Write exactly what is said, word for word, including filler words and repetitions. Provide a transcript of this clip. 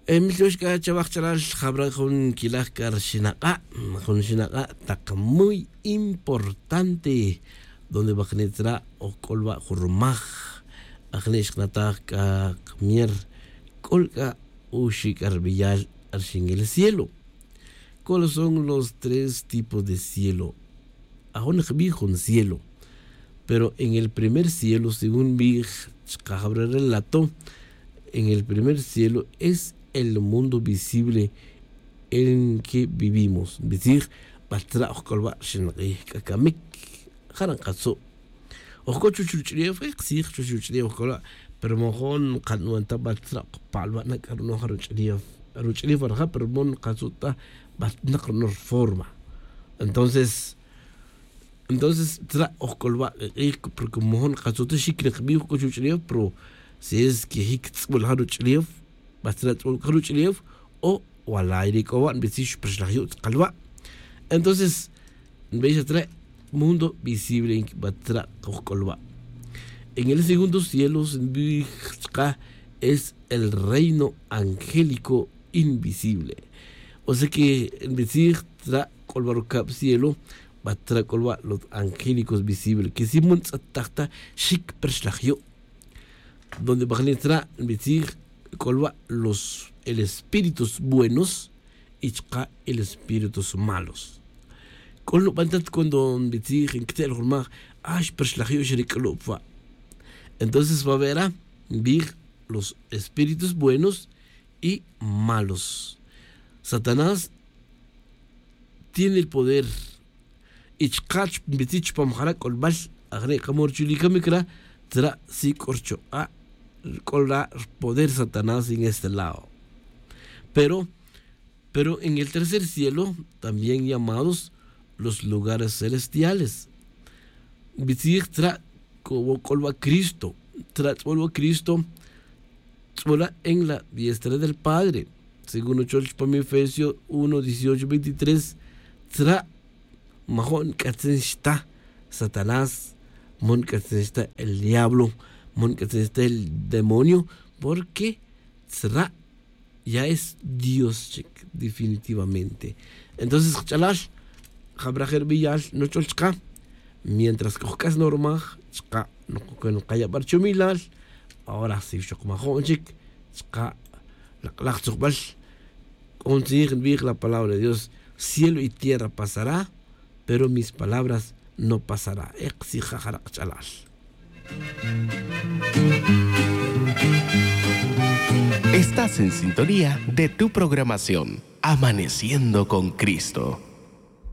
Milyox c'a chawaj chalal jabra jun quilaj c'a ri xinak'a', jun xinak'a' tak muy importante, donde wajni' tzra' oj c'olba' jun rumaj. Ajni' xkanataj c'a kamier c'ol c'a uxi' c'a ri beyal ri xingil cielo. Cuáles son los tres tipos de cielo? Ajun nkbij jun cielo. Pero en el primer cielo, según nbij chka jabra relato, en el primer cielo es el mundo visible en que vivimos. Nbitzij, batzra' oj c'olba' ri xinak'ij c'a camic. Jara' nkatzu'. Oj c'o chuwech ruch'ulef, eh, ktzij, chuwech ruch'ulef oj c'olba'. Pero mojon nkanuan ta batzra' oj pa'lba' na c'a runo' ja ruch'ulef. Ruch'ulef rija', pero mojon nkatzu' ta batnak runo' reforma. Entonces, entonces tzra' oj c'olba' k'ij, porque mojon nkatzu' ta xic nkbij oj c'o chuwech ruch'ulef, pero si es que jic tz'ubul ja ruch'ulef, batzra' tz'ubul ja ruch'ulef, o walay ri c'o wa' nbitzij xperxlaj yu' tz'akalba'. Entonces nbix tzra' mundo visible, batzra' oj c'olba'. En el segundo cielo nbij chka es el reino angélico invisible. O sea que nbitzij tzra' c'olba' rucab cielo, batzra' c'olba' los angélicos visible, que si mojon ntz'ataj ta xic perxlaj yu'. Donde bajni' tzra' nbitzij c'olba' los, el espíritus buenos y chka el espíritus malos. C'ol nuban ta cuando nbitzij ncte'el jun maj, ah, xperxlaj yu' xa ri c'ulu' pa. Entonces va vera nbij los espíritus buenos y malos. Satanás tiene el poder. Y chka' nbitzij chupam jara' c'olbal, ajni' kamo ri chulic camic ra, tzra' si c'o ri chuk'a', c'o ra poder Satanás en este lado. Pero, pero en el tercer cielo, también llamados los lugares celestiales, nbitzij tzra' c'olba' Cristo. Tzra' tz'ubul wa Cristo, tz'ubul ra en la diestra del Padre. Según nuchol chupam Efesio uno, dieciocho, veintitrés, tzra' mojon nc'atzin xta Satanás, mojon nc'atzin xta el diablo, mojon nc'atzin xta el demonio, porque tzra' ya es Dios chic, definitivamente. Entonces kach'alal, jabra je' ri beyal nuchol chka, mientras que oj c'as normal chka, nkayabar chumilal, ahora si xoc majo'n chic chka, lak'laj tzujbal. C'o jun tzij nbij la palabra de Dios: cielo y tierra pasará, pero mis palabras no pasará. Ek tzij ja' jara' kach'alal. Estás en sintonía de tu programación Amaneciendo con Cristo.